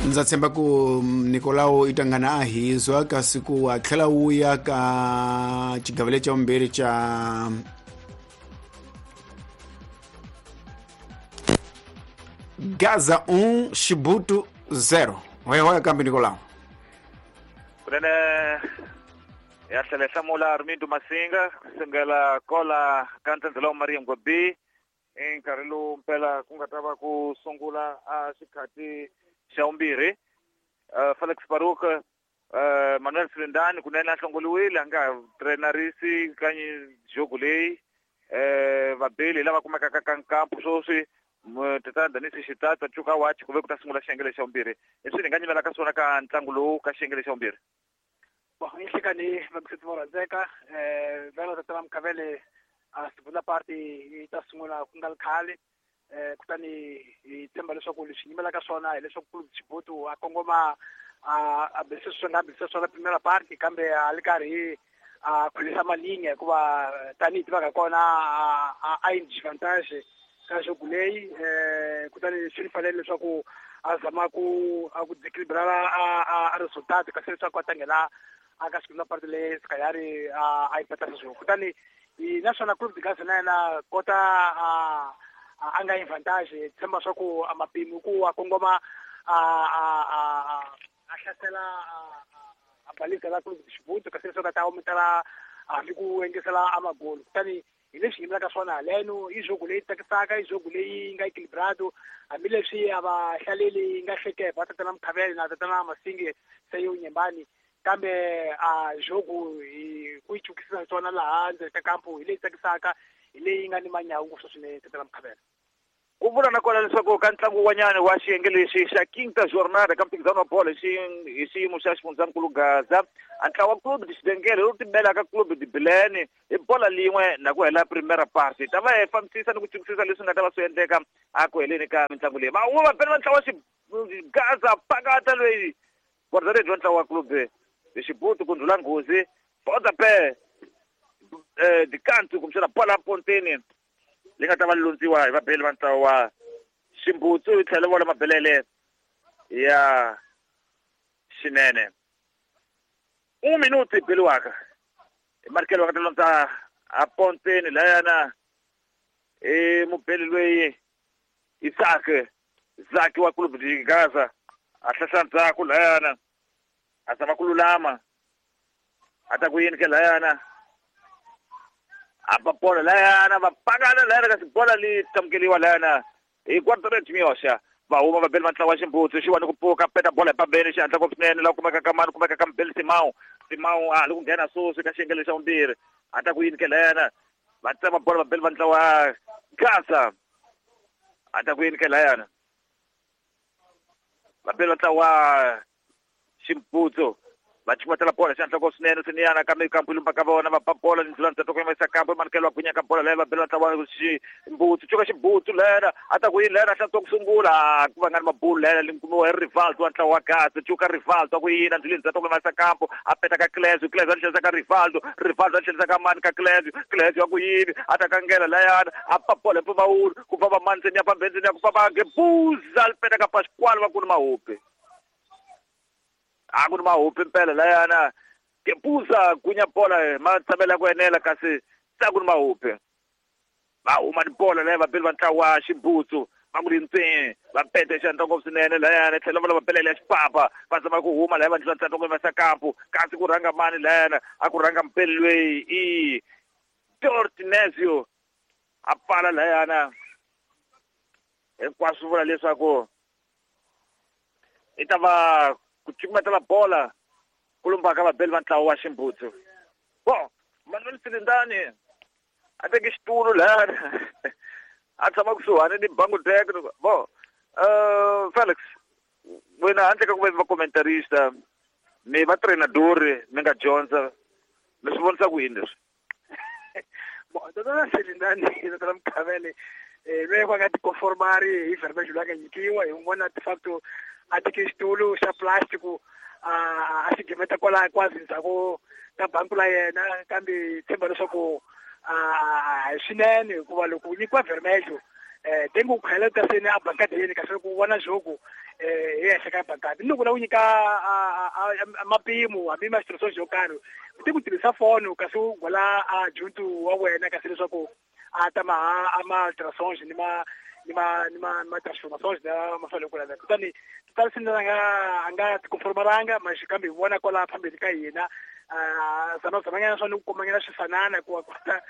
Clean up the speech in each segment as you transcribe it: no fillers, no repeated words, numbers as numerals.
Ndza tshemba ku Nicolau i tangana a hizwa kasi ku a tlhela wu ya ka xigavele xa vumbirhi xa Gaza 1 Xibutu 0. Hoya kambe Nicolau. Kunene ya tlhela hi hlamula Armindo Masinga kusukela kola ka ntsendzela wa Maria Ngwabi i nkarhi lowu mpela ku nga ta va ku sungula a xikhati xa vumbirhi. Felix Baruk, Manuel Silindani kunene a hlongoliwile a nga ha trenarisi ka jogo leyi. Vabeli lava kumekaka ka nkampu sweswi tatana Danisi Xitata Cuka Watch ku ve ku ta sungula xiyenge xa vumbirhi. Leswi ni nga nyimela ka swona ka ntlangu lowu ka xiyenge xa vumbirhi. Bon, inhlekani vakusetsi vo rhandzeka vhela tatana Mkhavele a segunda parte yi ta sungula ku nga ri khale. Kutani hi tshemba leswaku leswi nyimelaka swona hileswaku Clube Xibutu a kongoma a bisa swi nga bisa swona primera parte kambe a li karhi a khulisa malinga hikuva tanihi tivaka kona a yi disadvantage ka jogo leyi. Kutani swi fanele leswaku a zama ku a ku desequilibrar a resultado kasi leswaku a ta nghena a ka segunda parte leyi Sikayari a yi peta sweswo. Kutani naswona Clube de Gaza na yena kota a nga advantage tshemba swa ku a mapimi ku a kongoma a hlasela a balisa la Clube de Xibutu kasi leswaku a ta ometela hambi ku engesela a magolo. Kutani hi leswi yimelaka swona haleno i jogo leyi tsakisaka, i jogo leyi nga equilibrado hambileswi a va hlaleli yi nga hleketa tatana Mkhavele na tatana Masinge se yo nyembani, kambe a jogo hi ku yi chukisisa swona laha ndzeni ka kampu hi leyi tsakisaka, hi leyi nga ni manyawu ngopfu swinene tatana Mkhavele. Ku vula na kona leswaku ka ntlangu wun'wanyana wa xiyenge lexi xa Quinta Jornada ka mphikizano wa bolo hi xiyimo xa xifundzankulu Gaza, a ntlawa wa Clube de Xidengele lowu timelaka Clube de Bilene hi bola lin'we na ku hela primera parte. Ta va hi fambisisa ni ku chukisisa leswi nga ta va swi endleka a ku heleni ka mitlangu leyi. Va huma vapeni va ntlawa Gaza pakata loyi guarda-redes wa ntlawa wa Clube de Xibutu ku ndlhula nghozi pontapé dikantu kumbexana bola ponteni leyi nga ta va londziwa hi vabeli va ntlawa wa Ximbutsu yi tlhela vona mabelele ya xinene. 1 minuto yi beliwaka hi marikelo va nga ta londza a ponteni layana i mubeli loyi Isaac Zaki wa Clube de Gaza a hlahla ndzhaku layana a zama ku lulama a ta ku yini ke layana a ba bola layana va pakana layana kasi bola li tamukeliwa layana hi guarda-redes Miyoxa. Va huma vabeli va ntlawa wa Ximbutsu xi wani ku pfuka peta bola hi pambeni xi hatla ngopfu swinene laha kumeka ka mani kumeka ka mubeli Simao. Simao a ha li ku nghena sweswi ka xiyenge xa vumbirhi a ta ku yini ke layana va tsema bola vabeli va ntlawa Gaza a ta ku yini ke layana vabeli va ntlawa Ximbutsu va chukumetela bola xi hatla ngopfu swinene swiniyana kambe kampu lumba ka vona va ba bola ndlela ndzhaku ku yimisa kampu manikelo wa gwinya ka bola leyi vabeli va ntlawa Ximbutsu cuka Ximbutsu lena a ta ku yini lena hlantswa ku sungula ku va nga ni mabulu lena li kumiwa hi Rivaldo wa ntlawa wa Gaza cuka Rivaldo a ku yini ndleleni ndzhaku ku yimisa kampu a peta ka Clesio Clesio a tlhelisa ka Rivaldo Rivaldo a tlhelisa ka mani ka Clesio Clesio a ku yini a ta kangela layana a ba bola hi mpfumawulo ku famba mani ndzeni ya pambeni ndzeni ya ku famba Gebuza li peta ka Pasquale va ku ni mahupi a ku ni mahupi mpela layana Gebuza gunya bola ma tshamela ku enela kasi tsa ku ni mahupi va huma ni bola leyi vabeli va ntlawa wa Ximbutsu va ku lintsini va pete xandla ngopfu swinene layana tlhela va lava belele ya xipapa va zama ku huma laya va ndlula ntsandza ku yimisa kampu kasi ku rhanga mani layana a ku rhanga mpeli loyi i Dortinezio a pfala layana hinkwaswo vula leswaku i ta va ku cukumetela bola ku lumbaka vabeli va ntlawa wa Ximbutsu. Bon, Manuel Silindani a teke xitulu layana a tshama kusuhani ni bangu deck. Bon, Felix wena handle ka ku va va commentarista mi va trainadori mi nga dyondza mi swi vonisa ku yini leswi? Bon, tatana Silindani tatana Mkhavele loyi va nga tikonformari hi verbiage loyi a nga nyikiwa hi n'wana de facto a teke xitulu xa plastic a xi gimeta kwala kwazi ndzhaku ka banku la yena, kambe tshemba leswaku a hi swinene hikuva loko u nyikiwa vermelho Tengo ku khayela ta seni a bankadeni kasi ku vona jogo hi henhla ka bankadi ni loko la ku nyika mapimo hambi ma xitirhisiwa xo karhi u te ku tirhisa foni kasi u gola a juntu wa wena kasi leswaku a ta ma a ma ultrasonge ni ma ni ma ni ma ma transformations na ma fanele ku laveka kutani titalisini a nga tikonformaranga ma kambe hi vona kwala phambili ka hina zama zamanyana swa ni ku komanyana swifanana ku kota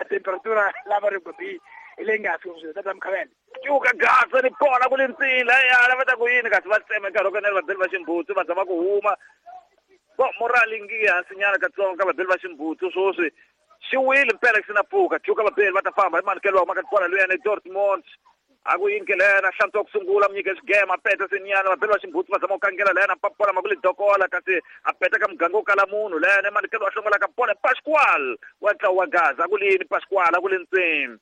temperatura lava ri gobi hi leyi nga fiki swilo tata Mkhavele cuka gasa ni bola ku le ntsila ya lava ta ku yini kasi va tsema nkarhi wo kanela vabeli va ximbutsu va zama ku huma bo morali ngi hansinyana katsongo ka vabeli va ximbutsu swoswi xi wile mpela xi na pfuka cuka vabeli va ta famba hi manikelo wa maka bola luyana eDortmund a ku yini ke lena hlantswa ku sungula munyike xigema a peta senyana vabeli va ximbutsu va zama ku kangela lena papola ma ku le dokola kasi a peta ka muganga wo kala munhu lena manikelo wa hlongola ka bola Pascual wa ntlawa wa Gaza a ku le yini Pascual a ku le ntsini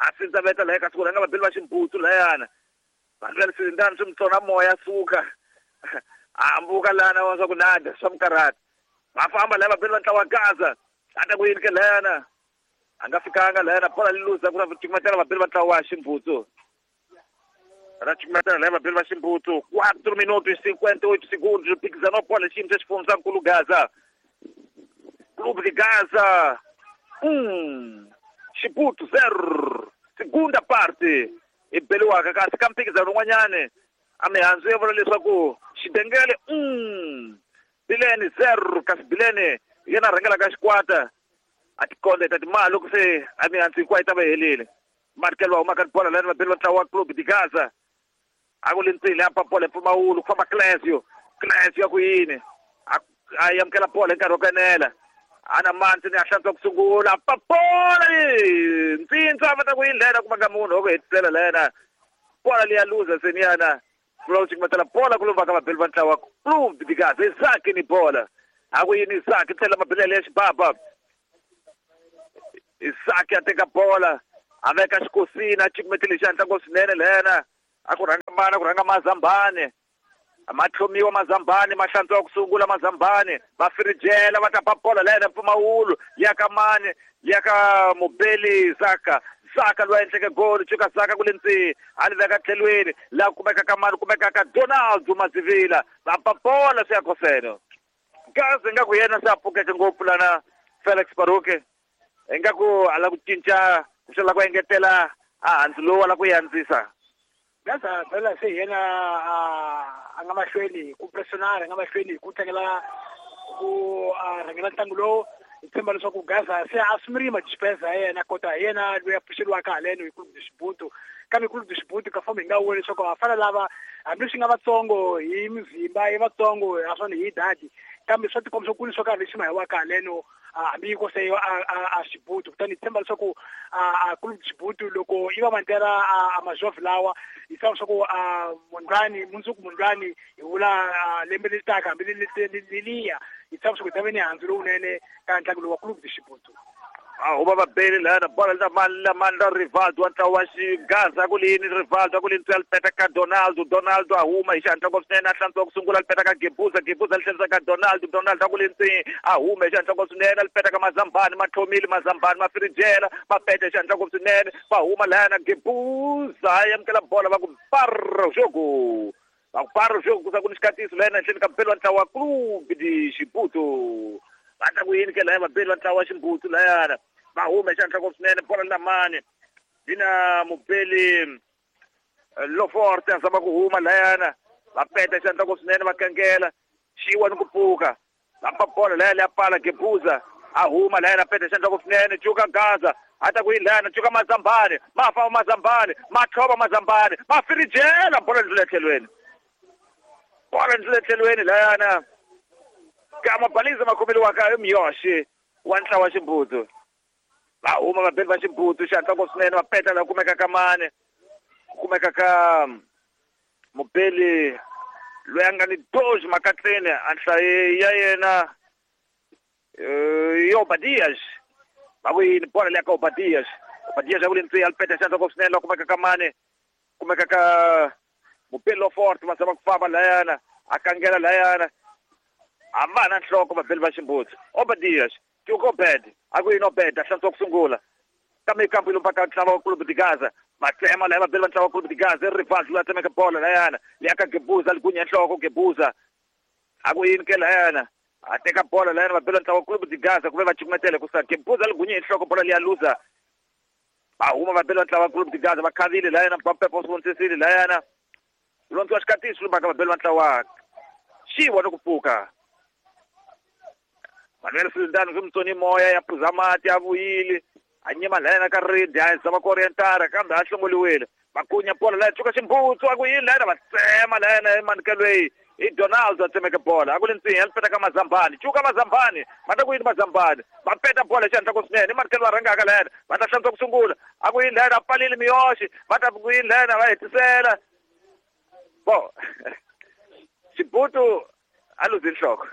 a sindzaveta laha kasi ku rhanga vabeli va ximbutsu layana vanhu va le swirindani swi mutsona moya suka a hambuka lana wa swa ku nada swa mukarhata va famba laha vabeli va ntlawa wa Gaza a ta ku yini ke lana a nga fikanga lana bola li luza ku ra cukumetela vabeli va ntlawa wa ximbutsu ra cukumetela laha vabeli va ximbutsu 4 minutos 58 segundos mphikizano bola xiyimo xa xifundzankulu Gaza Clube de Gaza 1 Xibutu 0 segunda parte i beliwaka kasi ka mphikizano wun'wanyani a mihandzu ya vula leswaku Xidengele 1 Bilene 0 kasi Bilene yena rhangelaka xikwata a tikondeta timali loko se a mihandzu hinkwayo yi ta va helile manikelo wa humaka bola lani vabeli va ntlawa wa Clube de Gaza a ku le ntsini a papola mpfumawulo ku famba Clesio Clesio ya ku yini a amukela bola hi nkarhi wo kanela ana manzi ni a hlantswa ku sungula papola ntsintsa va ta ku yini lena kuma ka munhu wa ku hetisela lena bola leya luza seniyana vula ku cukumetela bola ku lumba ka vabeli va ntlawa Clube de Gaza Isaac ni bola a ku yini Isaac tlhela mabelele ya xibaba Isaac a teka bola a veka xikosini a cukumetele xi hatla swinene lena a ku rhanga mana ku rhanga Mazambane ma tlhomiwa Mazambane ma hlantswa ku sungula Mazambane va firijela va ta ba bola lena mpfumawulo ya ka mani ya ka mubeli Zaka Zaka loyi a endleke goli cuka Zaka ku le ntsini a li veka tlhelweni laha kumeka ka mani kumeka ka Donaldo Mazivila va ba bola swi ya koseno Gaza ingaku yena se a pfukeke ngopfu lana Felix Baruke ingaku a la ku cinca ku xela ku engetela a handzu lowu a la ku yandzisa Gaza phela se yena a nga mahlweni ku pressionara a nga mahlweni ku tlangela ku rhangela ntlangu lowu hi tshemba leswaku Gaza se a sumerile madispensa ya yena kota hi yena loyi a pfuxeriwaka haleno hi Clube de Xibutu kambe Clube de Xibutu ka fomo hi nga voni leswaku va fana lava hambileswi nga vatsongo hi mizimba i vatsongo naswona hi dadi kambe swa tikomba swo kulu swo karhi lexi ma hiwaka haleno hambi ko se a Xibutu kutani hi tshemba leswaku a Clube de Xibutu loko i va mantela a majovhi lawa hi tshemba leswaku mundlwani mundzuku mundlwani hi vula lembe leri taka hambi leliya hi tshemba leswaku hi ta va ni handzu lowunene ka ntlangu lowu wa Clube de Xibutu a huma vabeli lana bola la mani la mani la Rivaldo wa ntlawa wa Xigaza ku lini Rivaldo ku lini li peta ka Donaldo Donaldo a huma hi xihatla ngopfu swinene a hlantswa ku sungula li peta ka Gebuza Gebuza li tlherisa ka Donaldo Donaldo a ku le ntsini a huma hi xihatla ngopfu swinene li peta ka Mazambani ma tlhomile Mazambani ma firijela ma peta hi xihatla ngopfu swinene va huma lana Gebuza a amukela bola va ku parro jogo va ku parro jogo ku sa ku ni xikatiso lena henhleni ka mbeli wa ntlawa wa Clube de Xibutu va ta ku yini ke laya vabeli va ntlawa wa Ximbutsu layana va huma hi xihatla ngopfu swinene bola lamani yina mubeli Loforte a zama ku huma layana va peta xihatla ngopfu swinene va kangela xiwa ni ku pfuka va pa bola laya leya pala Gebuza a huma layana peta xihatla ngopfu swinene cuka Gaza a ta ku yini layana cuka Mazambane ma famba Mazambane ma tlhova Mazambane ma firijela bola ndlula etlhelweni bola ndlula etlhelweni layana ka mabaliza ma khomeliwaka hi Miyoshi wa ntlawa wa Ximbutsu va huma vabeli va Ximbutsu xihatla ngopfu swinene va peta laha kumeka ka mani kumeka ka mubeli loyi a nga ni doji makatleni a nhlayo ya yena i Obadias va ku yini bola leya ka Obadias Obadias a ku le ntsini a li peta xihatla ngopfu swinene laha kumeka ka mani kumeka ka mubeli Loforte va zama ku famba layana a kangela layana a va na nhloko vabeli va Ximbutsu Obadias Cuka Obed a ku yini Obed a hlantswa ku sungula kambe kampu yi lumba ka ntlawa wa Clube de Gaza Vatsema laya vabeli va ntlawa Clube de Gaza Rivaldo la tsemeka bola layana leya ka Gebuza ligunya nhloko Gebuza a ku yini ke layana a teka bola layana vabeli va ntlawa Clube de Gaza ku ve va cukumetele ku sa Gebuza ligunya nhloko bola liya luza va huma vabeli va ntlawa Clube de Gaza va khavile layana Mpampepo swi vonisisile layana londziwa xikatiso lumaka vabeli va ntlawa xiwa ni ku pfuka Manuel Sultan swi mutsoni moya ya phuza mati ya vuyile a nyima layana ka ridi a zama ku orientara kambe a hlongoliwile makunya bola laya tshuka ximbutsu a ku yini layana va tsema layana emanukelweyi i Donald a tsemeke bola a ku le ntsinya li peta ka Mazambani cuka Mazambani va ta ku yini Mazambani va peta bola xihatla ku swinene i manikelo va rhangaka layana va ta hlantswa ku sungula a ku yini layana a pfalile miyoxi va ta ku yini layana va hetisela bo Xibutu a luzi nhloko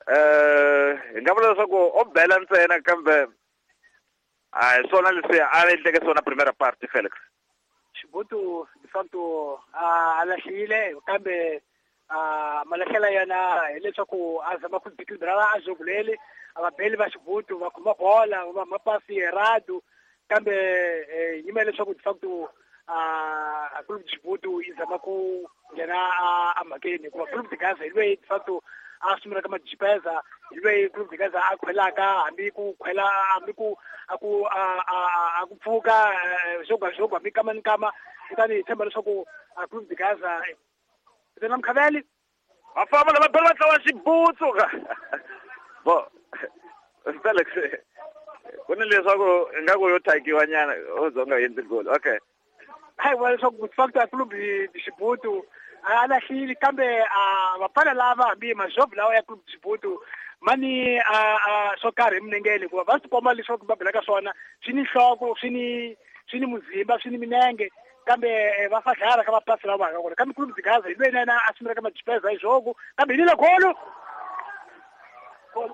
hi nga vula leswaku o bela ntsena kambe a hi swona leswi a endleke swona primera parte Felix. Xibutu de facto a lahlile kambe a malahlela yana hileswaku a zama ku deequilibrar a jogo leli a vabeli va Xibutu va khoma bola va mapasi errado kambe yima leswaku de facto a Clube de Xibutu yi zama ku nghena a mhakeni hikuva Clube de Gaza hi loyi de facto a sungulaka majipeza hi loyi Clube de Gaza a khwelaka hambi ku khwela hambi ku a ku a ku pfuka jogo a jogo hambi kama ni kama kutani hi tshemba leswaku a Clube de Gaza na Mkhaveli va famba lava bela va tlawa Xibutsu bo Felix ku ni leswaku ingaku yo thakiwa nyana o za u nga endli goli okay hayi vula leswaku facto a Clube de Xibutu a lahlile kambe a vafana lava hambi majovu lawa ya Clube de Xibutu mani a swo karhi eminengeni hikuva va swi komba leswaku va belaka swona swi ni nhloko swi ni muzimba swi ni minenge kambe va fadlala ka mapasi lawa va kona kambe Clube de Gaza hi loyi na yena a sungulaka majipeza hi jogo kambe hi lile golo gol